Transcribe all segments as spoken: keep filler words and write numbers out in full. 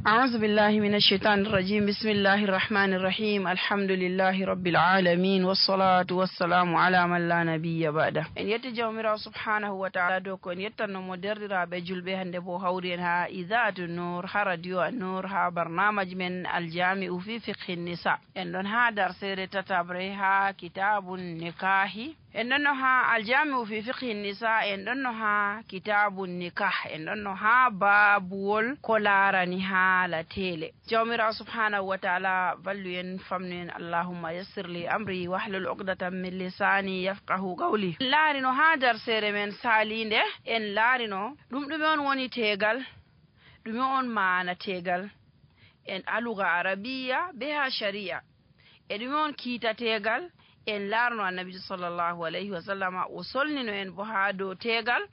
أعوذ بالله من الشيطان الرجيم. بسم الله الرحمن الرحيم. الحمد لله رب العالمين، والصلاة والسلام على من لا نبي بعده. En yetti Jawmiraawo subhaanahu wa ta'ala dow ko en yettanno mo. Derɗiraaɓe julɓe, hannde bo hawri en haa Idaa'atu Nuur, haa Radio An-Nuur, haa barnaamaj men Aljami'u fi Fiqhi Nisa. En ɗon haa darseere tataɓre haa Kitaabun Nikaahi. En ɗonno haa Aljami'u fi Fiqhi Nisa, en ɗonno haa Kitaabun Nikah, en ɗonno haa baabuwol ko laarani haala teele. Jawmiraawo subhaanahu wa ta'ala wallu en, famnu en. Allahumma yassir li amri wahlul uqdatan min lisani yafqahu qawli. Laarino haa darseere men saaliinde, en laarino ɗum ɗume on woni teegal, ɗume on maana teegal, en aluga arabiya be haa shari'a. E ɗume on kiita teegal? En laarno Annabiijo sallallahu alayhi wa sallama, o solnino en bo haa dow teegal.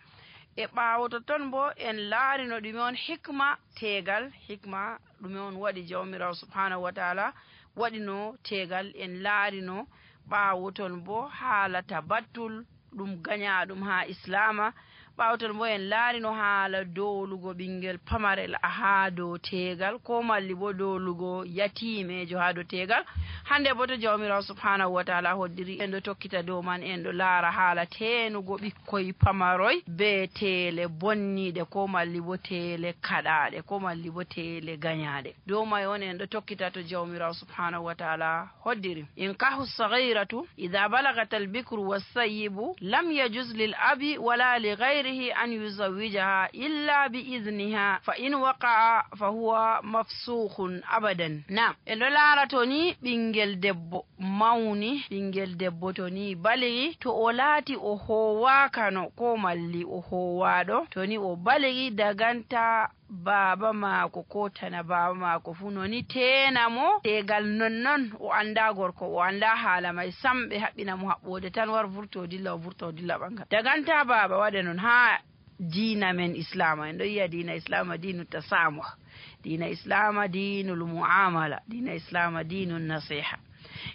E ɓaawo totton bo, en laarino ɗume on hikma teegal. Hikma ɗume on waɗi Jawmiraawo subhaanahu wa ta'ala waɗino teegal. En laarino ɓaawo ton bo haala tabattul, ɗum gañaaɗum haa Islaama. Ɓaawo ton bo en laarino haala doolugo ɓinngel pamarel haa dow teegal, ko malli bo doolugo yatiimeejo haa dow teegal. Hannde bo to Jawmiraawo subhaanahu wa ta'ala hoddiri, en ɗo tokkita dow man, en ɗo laara haala teenugo ɓikkoy pamaroy be teele bonniiɗe, ko malli bo teele kaɗaaɗe, ko malli bo teele gañaaɗe. Dow may on en ɗo tokkita to Jawmiraawo subhaanahu wa ta'ala hoddiri. Inkahu saghiratu, idha balagat al-bikru was-sayyibu, lam yajuz lil abi wala li ghayrihi an yuzawwijaha illa bi idhniha, fa in waqa'a fa huwa mafsukhun abadan. Naam, en ɗo laara to ni ɓinngel debbo mawni, ɓinngel debbo to ni baligi, to o laati o hoowaakano ko malli o hoowaaɗo, to ni o baligi daganta baaba maako ko tana baaba maako fuu, no ni teena mo teegal nonnon. O anndaa gorko, o anndaa haala may sam, ɓe haɓɓina mo haɓɓoode tan, war vurto dilla, o vurto dilla ɓanngal. Daganta baaba waɗa non haa diina men Islaama. En ɗo yi'a diina Islaama diinu tasaamuh, diina Islaama diinul mu'amala, diina Islaama diinu nasiha.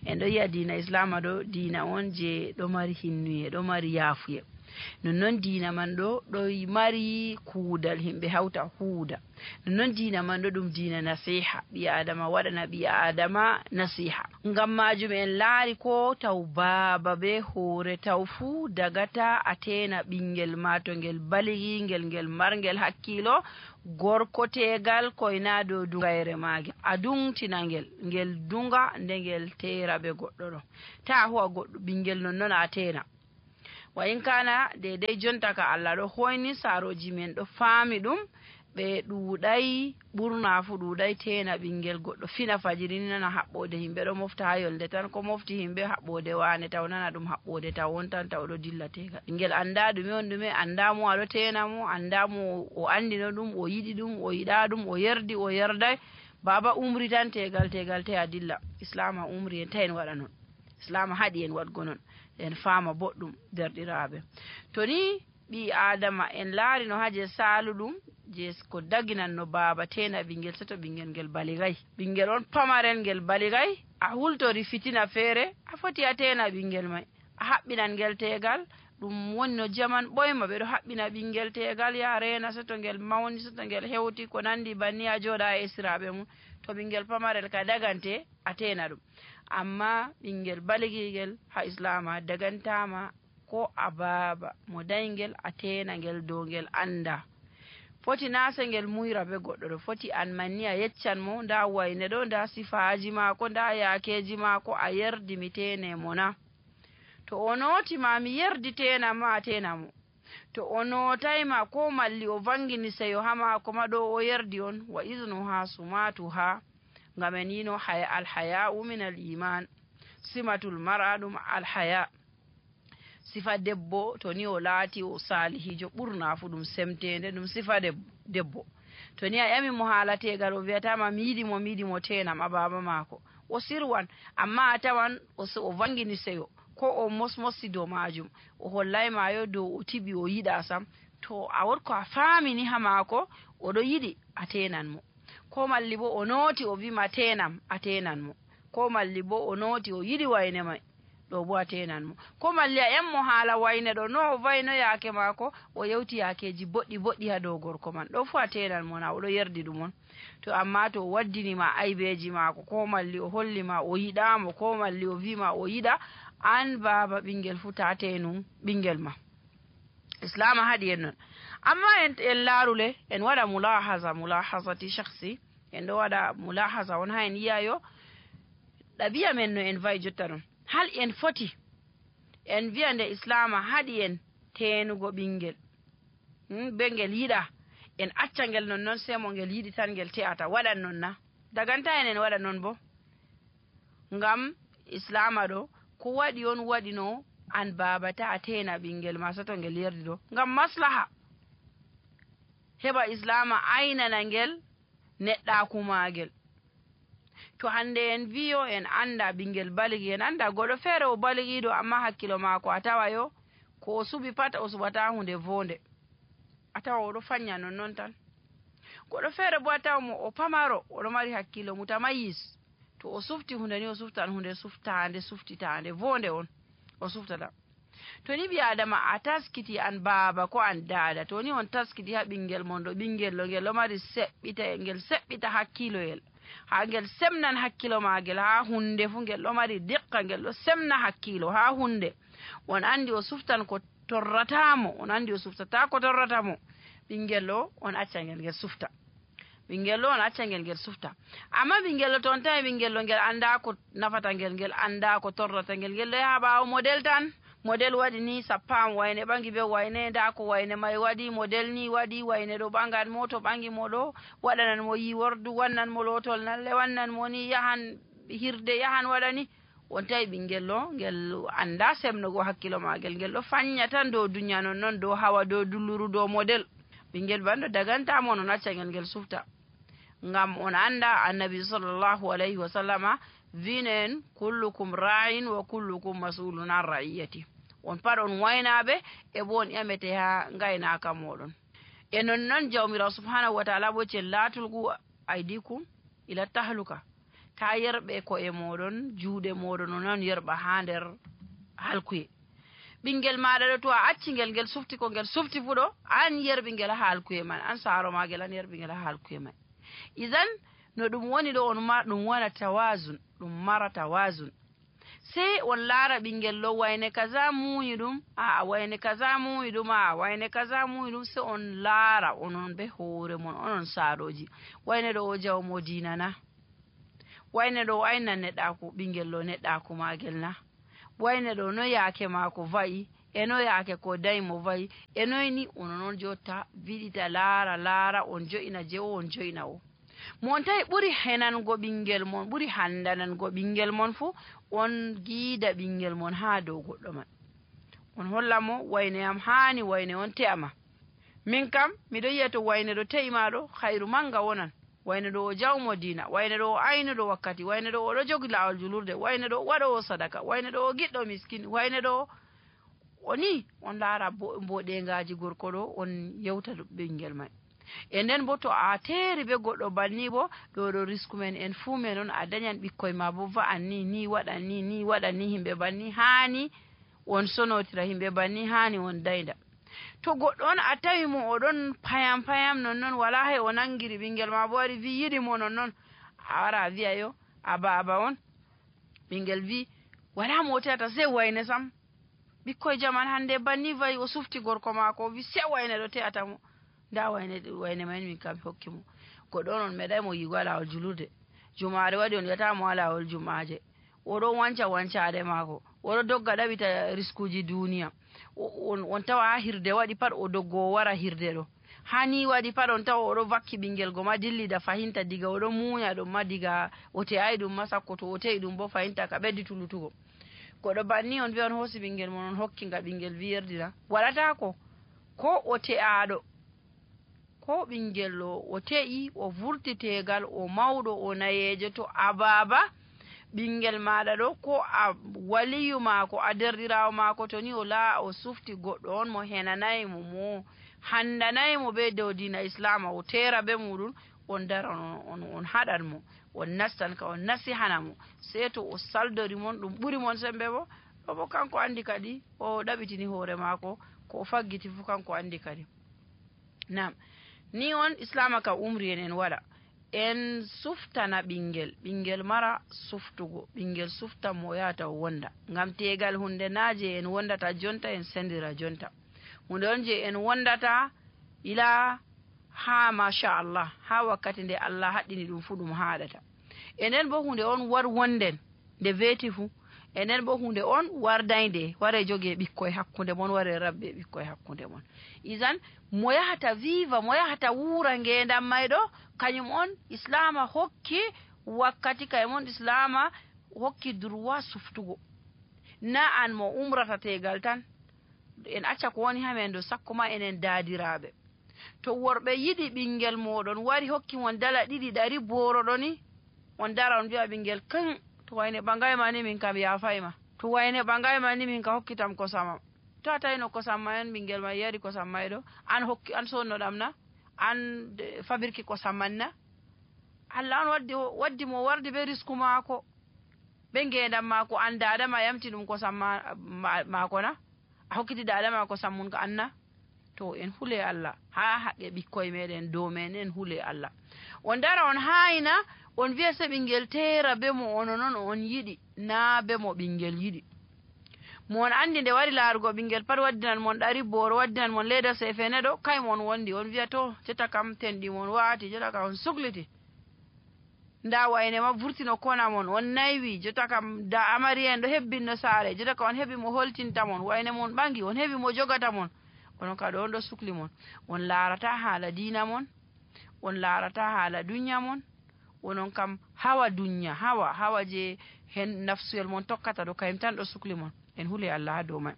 En ɗo yi'a diina Islaama ɗo diina on je ɗo mari hinnuye, ɗo mari yaafuye. Nonnon diina man ɗo, ɗo mari kuudal, himɓe hawta huuda. Nonnon diina man ɗo ɗum diina nasiha, ɓii Aadama waɗana ɓii Aadama nasiha. Ngam maajum en laari ko taw baaba be hoore taw fuu dagata a teena ɓinngel ma to ngel baligi, ngel, ngel marngel hakkiilo, gorko teegal koyna dow dungayre maagel. A dungtina ngel, ngel dunga nde ngel teera be goɗɗo ɗo. Taa huwa goɗɗo ɓinngel nonnon a teena. Wa in kana, deydey jonta ka Allah ɗo hoyni, saarooji men ɗo faami ɗum, ɓe ɗuuɗay, ɓurna fu ɗuuɗay teena ɓinngel goɗɗo fina fajiri ni nana haɓɓoode himɓe ɗo mofta haa yolnde tan, ko mofti himɓe haɓɓoode waane taw nana ɗum haɓɓoode taw on tan taw ɗo dilla teegal. Ɓinngel annda ɗume on ɗume, annda mo a ɗo teena mo, annda mo o anndino ɗum, o yiɗi ɗum, o yiɗa ɗum, o yerdi, o yerday. Baaba umri tan teegal, teegal teya dilla. Islaama umri en ta en waɗa non. Islaama haɗi en waɗgo non, en faama boɗɗum, derɗiraaɓe. To ni ɓii Aadama en laarino haa je saaluɗum, je ko daginanno baaba teena ɓinngel, seto ɓinngel ngel baligay. Ɓinngel on pamarel ngel baligay, a hultori fitina feere, a foti a teena ɓinngel may. A haɓɓinan ngel teegal, ɗum woni no jaman ɓoyma, ɓe ɗo haɓɓina ɓinngel teegal, yaa reena seto ngel mawni, seto ngel hewti, ko nanndi banni, a jooɗa e esiraaɓe mum. To ɓinngel pamarel ka dagante, a teena ɗum. Amma ɓinngel baligigel haa Islaama dagantaama ko a baaba mo dayngel, a teena ngel dow ngel annda. Foti naa se ngel muyra be goɗɗo ɗo, foti an man ni a yeccan mo, ndaa wayne ɗo, ndaa sifaaji maako, ndaa yaakeeji maako, a yerdi mi teene mo na? To o nooti ma mi yerdi teena ma, a teena mo. To o nootay ma ko malli o vangini seyo haa maako ma ɗo o yerdi on, wa idnuha sumatuha. Ngam en yino haya, al haya'u min al iman, simatul mar'a ɗum al haya. Sifa debbo, to ni o laati o saalihiijo, ɓurna fu ɗum semteende, ɗum sifa deb-, debbo. To ni a ƴami mo haala teegal, o wi'ata ma, "Mi yiɗi mo, mi yiɗi mo, teenam a baaba maako." O sirwan, amma a tawan o so, o vangini seyo, ko o mosmosi dow maajum, o hollay ma yo dow o tiɓi, o yiɗa sam. To a wot ko a faamini haa maako, o ɗo yiɗi, a teenan mo. Ko malli bo o nooti, o wi ma, "Teenam," a teenan mo. Ko malli bo o nooti, o yiɗi wayne may, Ɗo bo a teenan mo. Ko malli a en mo haala wayne ɗo, no o vayno yaake maako, o yewti yaakeeji boɗɗi boɗɗi haa dow gorko man. Ɗo fuu a teenan mo na, o ɗo yerdi ɗum on. To ammaa to o waddini ma aybeeji maako, ko malli o holli ma o yiɗaa mo, ko malli o vii ma o yiɗa, an baaba ɓinngel fuu ta teenun ɓinngel ma. Islaama haɗi en non. Ammaa en, en laaru le, en waɗa mulaahaza, mulaahazati shakhsi. En ɗo waɗa mulaahaza on haa en yi'a yo ɗabi'a men no en va'i jotta ɗon. Hal en foti en vi'a nde Islaama haɗi en teenugo ɓinngel? Hmm, be ngel yiɗa, en acca ngel nonnon, sey mo ngel yiɗi tan ngel te'ata, waɗan non na? Daganta en en waɗa non bo. Ngam Islaama ɗo, ko waɗi on waɗino an baaba ta a teena ɓinngel ma, sato ngel yerdi ɗo. Ngam maslaha. Heɓa Islaama aynana ngel neɗɗaaku maagel. To hannde en viyo en annda ɓinngel baligi, en annda goɗɗo feere o baligiiɗo, amma hakkilo maako a tawa yo ko o suɓi pat o suɓata huunde voonde. A tawa o ɗo fanya nonnon tan. Goɗɗo feere bo a tawa mo o pamaro, o ɗo mari hakkilo mutamayis. To o sufti huunde ni o suftan huunde suftaande, suftitaande, voonde on o suftata. To ni ɓii Aadama a taskiti an baaba ko an daada, to ni on taskiti haa ɓinngel mon ɗo, ɓinngel ɗo ngel ɗo mari seɓɓita, ngel seɓɓita hakkiloyel, haa ngel semnan hakkilo maagel haa huunde fuu, ngel ɗo mari diqqa, ngel ɗo semna hakkilo haa huunde. On anndi o suftan ko torrata mo, on anndi o suftata ko torrata mo. Ɓinngel ɗo on acca ngel ngel sufta. Ɓinngel ɗo on acca ngel ngel sufta. Amma ɓinngel ɗo to on tawi ɓinngel ɗo ngel annda ko nafata ngel, ngel annda ko torrata ngel, ngel ɗo yaha ɓaawo model tan. Model waɗi ni sappaama wayne ɓangi be wayne, nda ko wayne may waɗi, model ni waɗi, wayne ɗo ɓangan mo, to ɓangi mo ɗo, waɗanan mo yiwordu, wannan mo lootol nalle, wannan mo ni yahan hirde, yahan waɗa ni. On tawi ɓinngel ɗo, ngel annda semnugo hakkilo maagel, ngel ɗo fanya tan dow duniya nonnon, dow hawa, dow dulluru, dow model. Ɓinngel banndo daganta mo, non acca ngel ngel sufta. Ngam on annda Annabi sallallahu alayhi wa sallama viino en, "Kullukum ra'in wa kullukum mas'ulun an ra'iyati." On pat on waynaaɓe, e bo on ƴamete haa ngaynaaka mooɗon. E nonnon Jawmiraawo subhanahu wa ta'ala bo ce, "La tulqu aydikum ila tahluka." Ta yerɓe ko'e mooɗon, juuɗe mooɗon, on on yerɓa haa nder halkuye. Ɓinngel maaɗa ɗo, to a acci ngel, ngel sufti ko ngel sufti fuu ɗo, an yerɓi ngel haa halkuye man, an saaro maagel, an yerɓi ngel haa halkuye man. Idan, no ɗum woni ɗo, on ma-, ɗum wona tawazun, ɗum mara tawazun. Sey on laara ɓinngel ɗo, wayne kaza muuyi ɗum, aa, wayne kaza muuyi ɗum, aa, wayne kaza muuyi ɗum, sey on laara, onon be hoore mon, onon saarooji. Wayne ɗo o jawmo diina na? Wayne ɗo o aynan neɗɗaaku, ɓinngel ɗo neɗɗaaku maagel na? Wayne ɗo no yaake maako va'i, e no yaake ko dayi mo va'i, e noy ni? Onon on jotta, viɗita, laara, laara, on jo'ina je o, on jo'ina o. Mo on tawi ɓuri henango ɓinngel mon, ɓuri handanango ɓinngel mon fuu, on giida ɓinngel mon haa dow goɗɗo man. On holla mo wayne am haani wayne on te'a ma. Min kam, miɗo yi'a to wayne ɗo te'i ma ɗo, hayru mannga wonan. Wayne ɗo o jawmo diina, wayne ɗo o aynuɗo wakkati, wayne ɗo o ɗo jogi laawol julurde, wayne ɗo o waɗoowo sadaka, wayne ɗo o giɗɗo miskin, wayne ɗo o ni, on laara bo-, mboɗeŋgaaji gorko ɗo, on yewta ɗo ɓinngel may. E nden bo, to a teeri be goɗɗo banni bo, ɗo ɗo risku men, en fuu men on, a danyan ɓikkoy ma bo va'an ni, ni waɗan ni, ni waɗan ni, himɓe banni haani on sonotira, himɓe banni haani on daynda. To goɗɗo on a tawi mo o ɗon payam payam nonnon, walaa he o nangiri ɓinngel ma bo wari vi yiɗi mo nonnon, a wara a vi'a yo, a baaba on, ɓinngel vi, walaa mo o te'ata sey wayne sam. Ɓikkoy jaman hannde banni va'i, o sufti gorko maako, o vi sey wayne ɗo te'ata mo. Nda wayne, wayne man min kam mi hokki mo. Goɗɗo on on meeɗay mo yi'ugo haa laawol julurde. Jumaare waɗi on yi'ataa mo haa laawol jumaaje. O ɗo wanca wancaare maako. O ɗo dogga ɗaɓita riskuuji duuniya. O, on, on tawa haa hirde waɗi pat o doggo o wara hirde ɗo. Haa ni waɗi pat on tawa o ɗo vakki ɓinngel go ma dillida fahinta diga o ɗo muunya ɗum ma diga o te'aay ɗum ma sakko to o te'i ɗum bo fahinta ka ɓeddi tulutugo. Goɗɗo banni on vi'a on hoosi ɓinngel mon on hokki nga ɓinngel vi yerdi na? Waɗataako. Ko o te'aaɗo. Ko ɓinngel ɗo, o te'i, o vurti teegal, o mawɗo, o nayeejo, to a baaba ɓinngel maaɗa ɗo, ko a waliyu maako, a derɗiraawo maako, to ni o laa-, o sufti goɗɗo on mo henanaay mo, mo handanaay mo bee dow diina Islaama, o teera bee muuɗum, on daran, on, on, on haɗan mo, on nastan ka, on nasihana mo. Sey to o saldori mon, ɗum ɓuri mon semmbe bo, Obo kanko anndi kadi, o ɗaɓitini hoore maako, ko o faggiti fof kanko anndi kadi. Naam, ni on Islaama ka umri en, en waɗa. En suftana ɓinngel, ɓinngel mara suftugo, ɓinngel sufta mo yahata o wonda. Ngam teegal huunde naa je en wondata jonta, en sendira jonta. Huunde on je en wondata ila haa machallah, haa wakkati nde Allah haɗɗini ɗum fuu ɗum haaɗata. E nden bo huunde on war wonden nde veeti fuu. E nden bo huunde on war daynde, ware joge ɓikkoy hakkunde mon, ware rabbe ɓikkoy hakkunde mon. Izan, mo yahata viva, mo yahata wuura ngeendam mayɗo, kañum on Islaama hokki wakkati, kañum on Islaama hokki droit suftugo. Na an mo umrata teegal tan. En acca ko woni haa men ɗo, sakko ma enen daadiraaɓe. To worɓe yiɗi ɓinngel mooɗon, wari hokki mon dala ɗiɗi ɗari booroɗo ni, on dara on mbi'a ɓinngel, "Kan, to wayne ɓangay ma ni min kam yaafay ma. To wayne ɓangay ma ni min ka hokkitam kosam am." To a tawino kosam ma on, ɓinngel ma yari kosam ma ɗo, an hokki, an sonnoɗam na? An, eh, fabirki kosam man na? Allah on waddi, waddi mo warde be risku maako. Ɓe ngeendam maako, an daada ma yamti ɗum kosam ma, ma, maako na? A hokkiti daada ma kosam mun ka an na? To, en hule Allah. Haa haqqe ɓikkoy meɗen, dow men, en hule Allah. On dara, on haayna, on vi'a se ɓinngel teera be mo ono non on yiɗi, naa be mo ɓinngel yiɗi. Mo on anndi nde wari laarugo ɓinngel pat, waddinan mon ɗari booro, waddinan mon leeda sefene ɗo, kay mo on wondi, on vi'a, "To, jota kam tenɗi mon waati, jota kam on sukliti." Ndaa wayne ma vurtino kona mon, on naywi, jota kam da amariya en ɗo hebbinno saare, jota kam on heɓi mo holtinta mon, wayne mon ɓangi, on heɓi mo jogata mon. Onon ka ɗo on ɗo sukli mon. On laarata haala diina mon, on laarata haala dunya mon, onon kam hawa dunya, hawa, hawa je hen nafsuyel mon tokkata ɗo, kayum tan ɗo sukli mon. En huli Allah haa dow may.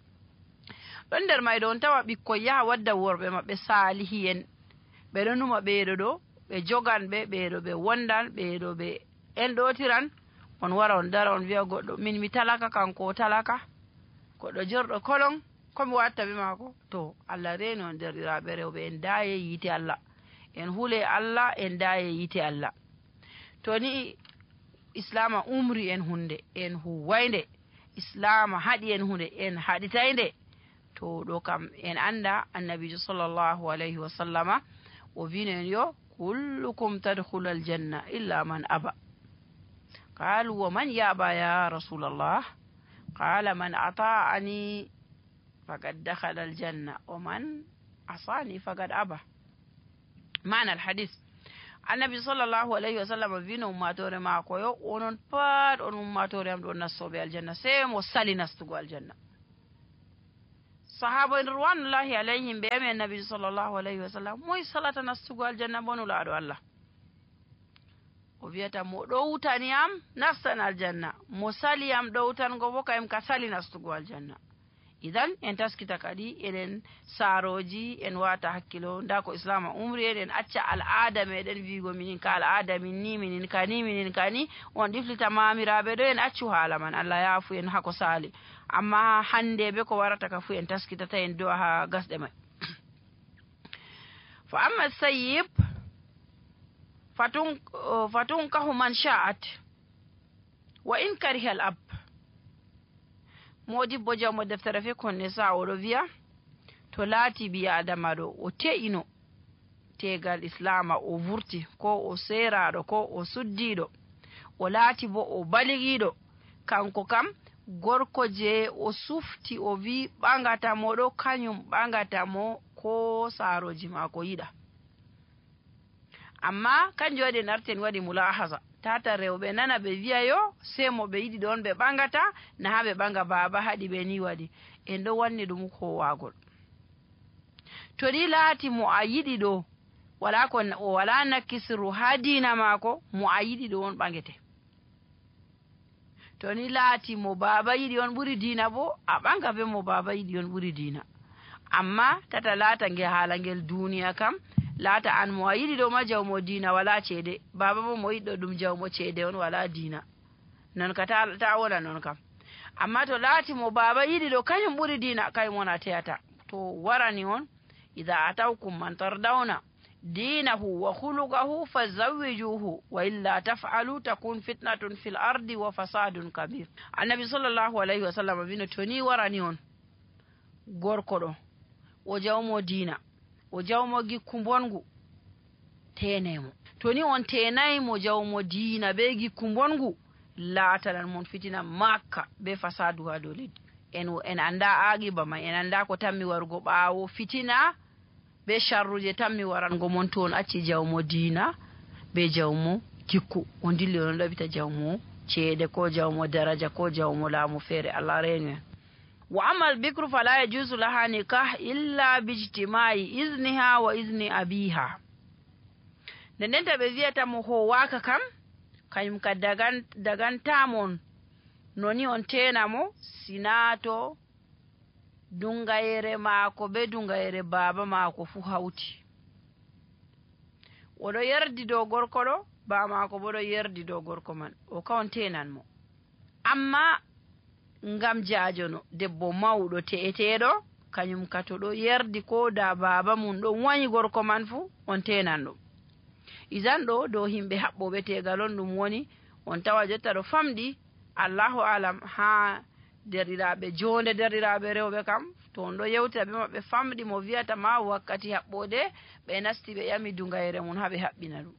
Ɗon nder may ɗo on tawa ɓikkoy yaha wadda worɓe maɓɓe saalihi en. Ɓe ɗo numa ɓeeɗo ɗo, ɓe jogan ɓe, ɓeeɗo ɓe wondan, ɓeeɗo ɓe en ɗootiran. On wara on dara on vi'a goɗɗo, "Min mi talaka, kanko o talaka." Goɗɗo jorɗo kolon, ko mi watta be maako? To, Allah reeni on derɗiraaɓe rewɓe, en daaye yiite Allah. En hule Allah, en daaye yiite Allah. To ni Islaama umri en hunde, en huway nde. Islaama haɗi en hunde, en haɗitay nde. To ɗo kam en annda Annabiijo sallallahu alayhi wa sallama, o wiino en yo, "Kullukum tadkhulu aljanna illa man aba." Qalu, "Wa man yaba ya Rasulallah?" Qala, "Man ata'ani faqad dakhala aljanna, wa man asani faqad aba." Maana alhadis. Annabi sallallahu alayhi wa sallam wiino ummaatoore maako yo, "Onon pat on ummaatoore am ɗo nastooɓe aljanna, sey mo sali nastugo aljanna." Sahaaba en ridwanullahi alayhim ɓe yami Annabi sallallahu alayhi wa sallam, "Moy salata nastugo aljanna bo Nulaaɗo Allah?" O wi'ata, "Mo ɗowtani am nastan aljanna, mo sali am ɗowtango bo kayum ka sali nastugo aljanna." Idan, en taskita kadi eɗen saarooji, en waata hakkilo, ndaa ko Islaama umri en, en acca al'aada meɗen wi'ugo minin ka al'aada min ni, minin ka ni, minin ka ni, on ɗiflita maamiraaɓe ɗo, en accu haala man, Allah yaafu en haa ko saali. Amma hannde be ko warata ka fuu en taskitata, en do'a haa gasɗe may. Fa amma sayyib, fatun-, fatunkahu man sha'at, wa in karihal ab. Moodibbo jawmo deftere fikhun nisa, oɗo wi'a, to laati ɓii Aadama ɗo, o te'ino teegal Islaama, o vurti, ko o seeraaɗo, ko o suddiiɗo, o laati bo o baligiiɗo, kanko kam, gorko je o sufti, o wi ɓagata mo ɗo, kanyum ɓagata mo, ko saarooji maako yiɗa. Amma kanjum waɗi en arti en waɗi mulahasa. Tata rewɓe nana ɓe wi'a yo, sey mo ɓe yiɗi ɗon ɓe ɓagata, na haa ɓe ɓaga baaba haɗi ɓe ni waɗi. En ɗo wanni ɗum kowaagol. To ni laati mo a yiɗi ɗo, wala ko n-, o wala nakisru haa diina maako, mo a yiɗi ɗo on ɓagete. To ni laati mo baaba yiɗi on ɓuri diina bo, a ɓaga be mo baaba yiɗi on ɓuri diina. Amma tata laata nge haala ngel duniya kam, laata an mo a yiɗi ɗo ma jawmo diina wala ceede, baaba bo mo yiɗi ɗo ɗum jawmo ceede on wala diina. Non ka ta, ta wona non kam. Amma to laati mo baaba yiɗi ɗo kanyum ɓuri diina, kanyum on a teyata. To warani on, "Idha atawkum man tardawna." دينه وخلقه فزوجوه، وإلا تفعلوا تكن فتنة في الأرض وفساد كبير. Annabi sallallahu alayhi wa sallam wino, to ni warani on gorko ɗo, o jawmo diina, o jawmo gikku mbongu, teenee mo. To ni on teenay mo jawmo diina be gikku mbongu, laatanan mon fitina makka be fasadu ha dow leddi. En, en annda aaqiba ma, en annda ko tammi warugo ɓaawo fitina be sharruje tammi warango mon to on acci jawmo diina be jawmo gikku. On dilli on ɗaɓita jawmo ceede ko jawmo daraja ko jawmo laamu feere. Allah reenu en. وأما البكر فلا يجوز لها نكاح إلا باجتماع إذنها وإذن أبيها. Nde ndenta ɓe wiyata mo howaaka kam, kayum ka dagan-, dagantaa mon, no ni on teena mo, sinaa to dungayere maako be dungayere baaba maako fuu hawti. O ɗo yerdi dow gorko ɗo, baa maako bo ɗo yerdi dow gorko man. O ka on teenan mo. Amma ngam jaajono, debbo mawɗo te'eteeɗo, kanyum ka to ɗo yerdi ko da baaba mum ɗon wanyi gorko man fuu, on teenan ɗum. Izan ɗo dow himɓe haɓɓooɓe teegal on ɗum woni, on tawa jotta ɗo famɗi, Allahu alam, haa derɗiraaɓe, joonde derɗiraaɓe rewɓe kam, to on ɗo yewtira ɓe maɓɓe famɗi mo wiyata ma wakkati haɓɓoode, ɓe nasti ɓe ƴami dungayere mum haa ɓe haɓɓina ɗum.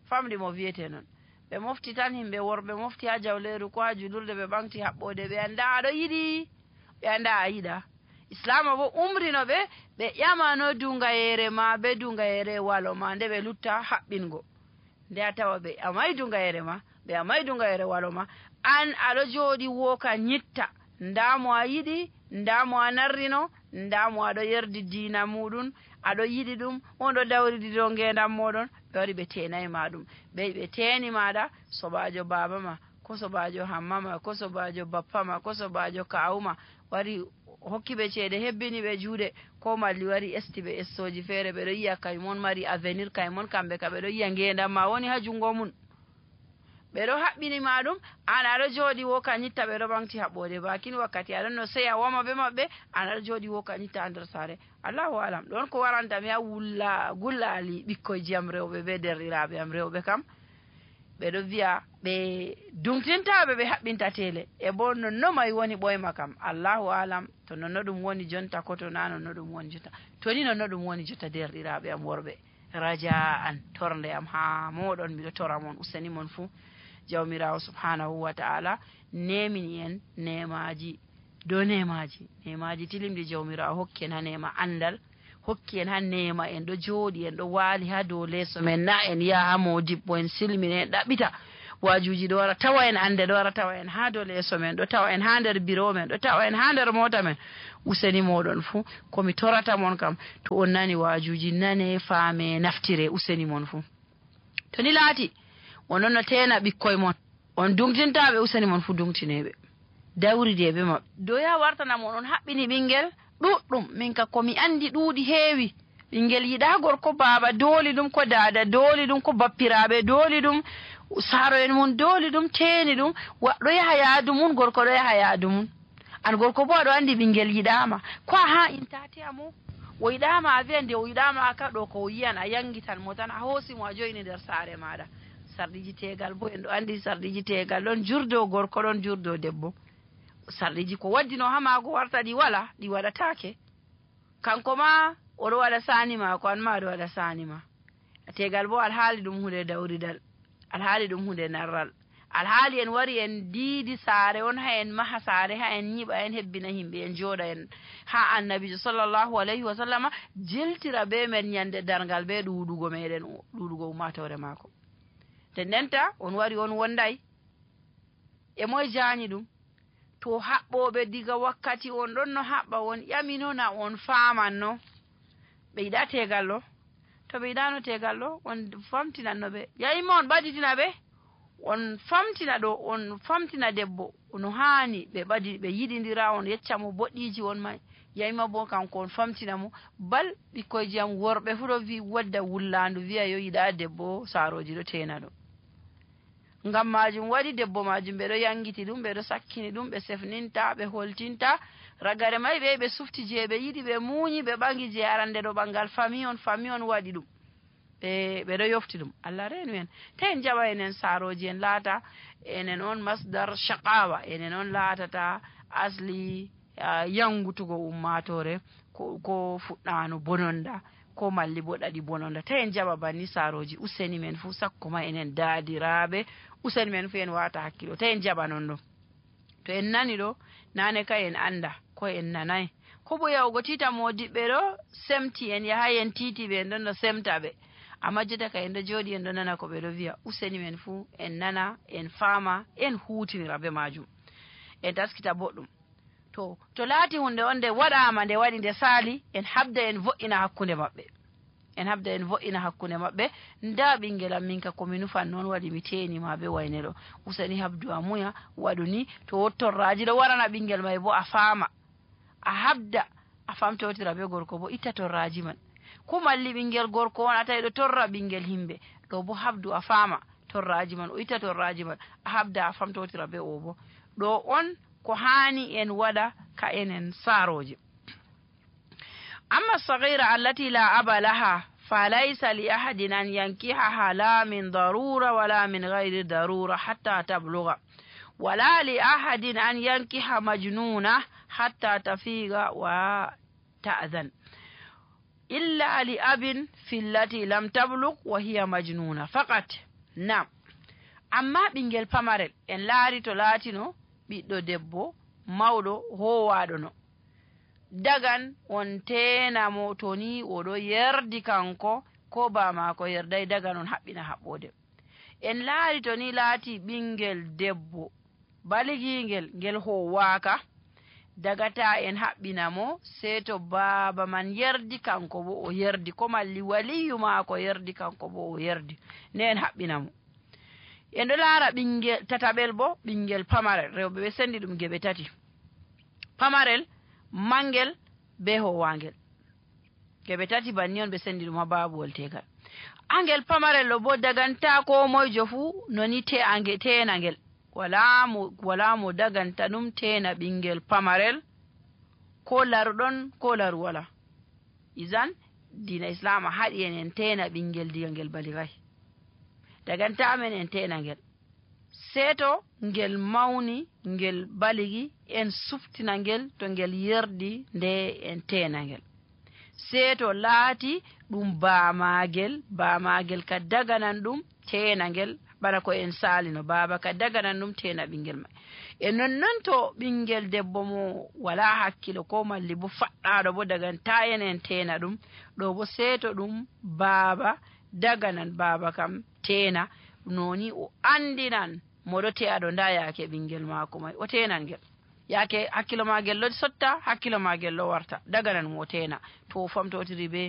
Famɗi mo wiyete non. Ɓe mofti tan himɓe worɓe mofti haa jawleeru ko haa julurde ɓe ɓaŋgti haɓɓoode, ɓe annda a ɗo yiɗi, ɓe annda a yiɗa. Islaama bo umrino ɓe, ɓe ƴamano dungayere ma be dungayere walo ma nde ɓe lutta haɓɓingo. Nde a tawa ɓe amay dungayere ma, ɓe amay dungayere walo ma, an a ɗo jooɗi wooka nyitta, nda mo a yiɗi, nda mo a narrino, nda mo a ɗo yerdi diina muɗum, a ɗo yiɗi ɗum, on ɗo dawridi dow ngeendam moɗon, ɓe wari ɓe teenay ma ɗum. Ɓe, ɓe teeni maɗa, soɓaajo baaba ma, ko soɓaajo hamma ma, ko soɓaajo bappa ma, ko soɓaajo kaawu ma, wari hokki ɓe ceede, hebbini ɓe juuɗe, ko malli wari esti ɓe essooji feere, ɓe ɗo yi'a kay mon mari avenir, kay mon kamɓe ka ɓe ɗo yi'a ngeendam ma woni ha jungo mum. Ɓe ɗo haɓɓini ma ɗum, an a ɗo jooɗi wo ka nyitta ɓe ɗo ɓaŋgti haɓɓoode. Baakin wakkati a ɗon no seya woma be maɓɓe, an a ɗo jooɗi wo ka nyitta ha nder saare. Allahu alam, ɗon ko waranta mi ha wulla-, gullaali ɓikkoyji am rewɓe be derɗiraaɓe am rewɓe kam. Ɓe ɗo vi'a ɓe duŋtinta ɓe, ɓe haɓɓinta tele. E bo nonno may woni ɓoyma kam. Allahu alam, to nonno ɗum woni jonta, ko to na nonno ɗum woni jonta. To ni nonno ɗum woni jonta, derɗiraaɓe am worɓe, raja'an, tornde am haa mooɗon, miɗo tora mon, useni mon fuu. Jawmiraawo subhaanahu wa ta'ala neemini en neemaaji dow neemaaji, neemaaji tilimɗi. Jawmiraawo hokki en haa neema anndal, hokki en haa neema en ɗo jooɗi, en ɗo waali haa dow leeso men, na en yaha haa moodibbo, en silmina, en ɗaɓɓita. Waajuuji ɗo wara tawa en, annde ɗo wara tawa en haa dow leeso men, ɗo tawa en haa nder biro men, ɗo tawa en haa nder moota men. Useni mooɗon fuu, ko mi torata mon kam, to on nani waajuuji, nane, faame, naftire, useni mon fuu. To ni laati, onon no teena ɓikkoy mon, on duŋtintaa ɓe, useni mon fuu duŋtinee ɓe. Dawridee be maɓɓe. Doya wartana mon, on haɓɓini ɓinngel ɗuuɗɗum. Min ka ko mi anndi ɗuuɗi heewi. Ɓinngel yiɗaa gorko baaba dooli ɗum, ko daada dooli ɗum, ko bappiraaɓe dooli ɗum, saaro'en mum dooli ɗum, teeni ɗum. Wa-, ɗo yaha yaadu mum, gorko ɗo yaha yaadu mum. An gorko bo aɗo anndi ɓinngel yiɗaama. Ko a haa intaati amo? O yiɗaama a vi'a nde o yiɗaama a ka ɗo ko o yi'an a yanngitan mo tan, a hoosi mo a jo'ini nder saare maaɗa. Sarɗiiji teegal bo en ɗo anndi sarɗiiji teegal ɗon jurdo gorko ɗon jurdo debbo. Sarɗiiji ko waddino haa maago warta ɗi wala, ɗi waɗataake. Kanko ma o ɗo waɗa saani maako, an ma a ɗo waɗa saani ma. Teegal bo alhaali ɗum huunde dawridal, alhaali ɗum huunde narral. Alhaali en wari en diidi saare on, haa en maha saare, haa en nyiɓa, en hebbina himɓe, en jooɗa en haa Annabiijo sallallahu alayhi wa sallama jiltira be men nyande darngal be ɗuuɗugo meɗen, ɗuuɗugo ummaatoore maako. Nden ndenta on wari on wonday. E moy jaani ɗum? To haɓɓooɓe diga wakkati on ɗon no haɓɓa, on ƴamino na on faamanno? Ɓe yiɗaa teegal ɗo? To ɓe yiɗaano teegal ɗo, on famtinanno ɓe. Yayi ma on ɓaditina ɓe? On famtina ɗo, on famtina debbo no haani ɓe ɓadi-, ɓe yiɗindira, on yecca mo boɗɗiiji on may. Yayi ma bo kanko on famtina mo. Bal ɓikkoyji am worɓe fuu ɗo vi-, wadda wullaandu, vi'a yo yiɗaa debbo, saarooji ɗo teena ɗo. Ngam maajum waɗi debbo maajum, ɓe ɗo yaŋgiti ɗum, ɓe ɗo sakkini ɗum, ɓe sefninta, ɓe holtinta. Ragare may ɓe, ɓe sufti je ɓe yiɗi, ɓe muuyi, ɓe ɓaŋgi je arande ɗo ɓaŋgal fami on, fami on waɗi ɗum. ɓe ɓeɗo yofti ɗum. Allah reenu en. Te en jaɓa enen saarooji, en laata enen on masdar shaqawa, enen on laatata asli ah, yangutugo ummaatoore, ko ko fuɗɗaano bononda, ko malli bo ɗaɗi bononda. Te en jaɓa banni saarooji. Useni men fuu, sakko ma enen daadiraaɓe, useni men fuu en waata hakkilo. Te en jaɓa non ɗo. To en nani ɗo, naane kay en annda ko en nanay. Ko bo yahugo tiita moodiɓɓe ɗo, semti en, yahay en tiiti ɓe, en ɗon no semta ɓe. Amma jota kay en ɗo jooɗi, en ɗo nana ko ɓe ɗo viya. Useni men fuu en nana, en faama, en huutinira be maajum. En taskita boɗɗum. To to laati hunde on nde waɗaama, nde waɗi, nde saali, en habda en vo'ina hakkunde maɓɓe. En habda en vo'ina hakkunde maɓɓe. Nda ɓingel am, min ka ko mi nufan non waɗi mi teeni ma be wayne ɗo. Useni habdu a muya, waɗu ni. To wot torraaji ɗo warana ɓingel may bo, a faama. A habda a famtotira be gorko bo, itta torraaji man. Ko malli ɓingel gorko on a tawi ɗo torra ɓingel himɓe, ɗo bo habdu a faama torraaji man, o itta torraaji man, a habda a famtotira be o bo. Ɗo on ko haani en waɗa ka enen saarooje. أما الصغيرة التي لا أب لها فليس لأحد أن ينكحها لا من ضرورة ولا من غير ضرورة حتى تبلغ، ولا لأحد أن ينكح مجنونة حتى تفيق وتأذن، إلا لأب في التي لم تبلغ وهي مجنونة فقط. نعم. Amma ɓingel pamarel, en laari to laatino ɓiɗɗo debbo mawɗo hoowaaɗo no, dagan on teena mo to ni o ɗo yerdi kanko, ko baa maako yerday, dagan on haɓɓina haɓɓoode. En laari to ni laati ɓingel debbo baligiingel, ngel hoowaaka, dagata en haɓɓina mo, sey to baaba man yerdi, kanko bo o yerdi, ko malli waliyu maako yerdi, kanko bo o yerdi, ne en haɓɓina mo. En ɗo laara ɓingel tataɓel bo, ɓingel pamarel, rewɓe ɓe sendi ɗum geɓe tati: pamarel, mangel, be hoowaangel. Geɓe tati banni on ɓe sendi ɗum haa baabuwol teegal. Angel pamarel ɗo bo daganta koo moyjo fuu, no ni te ange-, teena ngel. Walaa mo, walaa mo daganta ɗum teena ɓingel pamarel, ko laruɗon, ko laru walaa. Izan, diina Islaama haɗi en en teena ɓingel diga ngel baligay. Daganta men en teena ngel. Sey to ngel mawni, ngel baligi, en suftina ngel to ngel yerdi, nde en teena ngel. Sey to laati ɗum baamaagel, baamaagel ka daganan ɗum teena ngel, bana ko en saalino, baaba ka daganan ɗum teena ɓingel may. E nonnon to ɓingel debbo mo walaa hakkilo ko malli bo faɗɗaaɗo bo daganta en en teena ɗum, ɗo bo sey to ɗum baaba daganan, baaba kam teena, noni o andinan mo ɗo te'aɗo, nda yaake ɓingel maako may, o teenan ngel. Yaake hakkilo maagel ɗo sotta, hakkilo maagel ɗo warta, daganan mo o teena. To o famtotiri be